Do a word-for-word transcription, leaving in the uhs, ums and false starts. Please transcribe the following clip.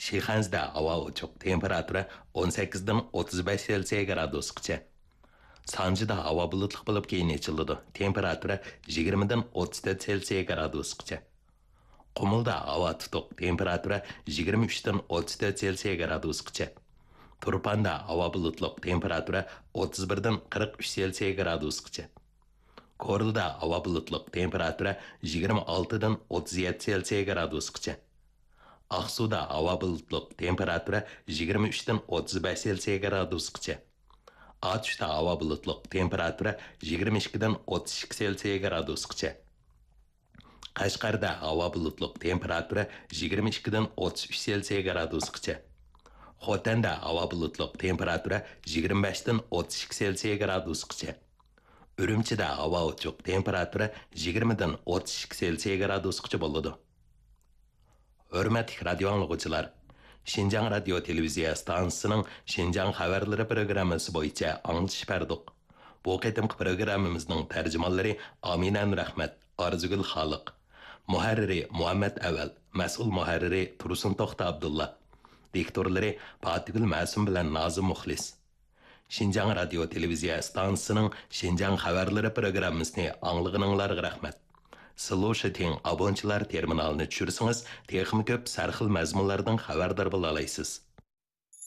شىخەنزىدە ھاۋا ئوچۇق، تېمپېراتۇرا ئون سەككىزدىن ئوتتۇز بەش سېلسىيە گرادۇسقىچە. سانجىدا ھاۋا بۇلۇتلۇق بولۇپ، كېيىن ئېچىلىدۇ، تېمپېراتۇرا يىگىرمىدىن ئوتتۇز تۆت سېلسىيە گرادۇسقىچە. قۇمۇلدا ھاۋا تۇتۇق، تېمپېراتۇرا يىگىرمە ئۈچتىن ئوتتۇز تۆت سېلسىيە گرادۇسقىچە. تۇرپاندا ھاۋا بۇلۇتلۇق، تېمپېراتۇرا ئوتتۇز بىردىن قىرىق ئۈچ سېلسىيە گرادۇسقىچە. كورلىدا ھاۋا بۇلۇتلۇق، تېمپېراتۇرا يىگىرمە ئالتىدىن ئوتتۇز يەتتە سېلسىيە گرادۇسقىچە. ئاقسۇدا ھاۋا بۇلۇتلۇق، تېمپېراتۇرا يىگىرمە ئۈچتىن ئوتتۇز بەش سېلسىيە گرادۇسقىچە. ئاتۇشتا ھاۋا بۇلۇتلۇق، تېمپېراتۇرا يىگىرمە ئىككىدىن ئوتتۇز ئىككى سېلسىيە گرادۇسقىچە. قەشقەردە ھاۋا بۇلۇتلۇق، تېمپېراتۇرا يىگىرمە ئىككىدىن ئوتتۇز ئۈچ سېلسىيە گرادۇسقىچە. خوتەندە ھاۋا بۇلۇتلۇق، تېمپېراتۇرا يىگىرمە بەشتىن ئوتتۇز ئىككى سېلسىيە گرادۇسقىچە. ئۈرۈمچىدە ھاۋا ئوچۇق، تېمپېراتۇرا يىگىرمىدىن ئوتتۇز ئىككى سېلسىيە گرادۇسقىچە بولىدۇ. ھۆرمەتلىك رادىيو ئاڭلىغۇچىلار، شىنجاڭ رادىيو تېلېۋىزىيە ئىستانسىسىنىڭ شىنجاڭ خەۋەرلىرى پروگراممىسى بويىچە ئاڭلىتىش بەردۇق. بۇ قېتىمقى پروگراممىمىزنىڭ تەرجىمانلىرى ئامىنە نۇرئەخمەت، ئارزۇگۈل خالىق. مۇھەررىرى مۇھەممەت ئەۋەل، مەسئۇل مۇھەررىرى تۇرسۇن توختى ئابدۇللا. دىكتورلىرى پاتىگۈل مەسۇم بىلەن نازىم مۇخلىس. شىنجاڭ رادىيو تېلېۋىزىيە ئىستانسىسىنىڭ شىنجاڭ خەۋەرلىرى پروگراممىسىنى ئاڭلىغىنىڭلارغا رەھمەت. سلۇشىتىڭ ئابونچىلار تېرمىنالىنى چۈشۈرسىڭىز، تېخىمۇ كۆپ سەرخىل مەزمۇنلاردىن خەۋەردار بولالايسىز.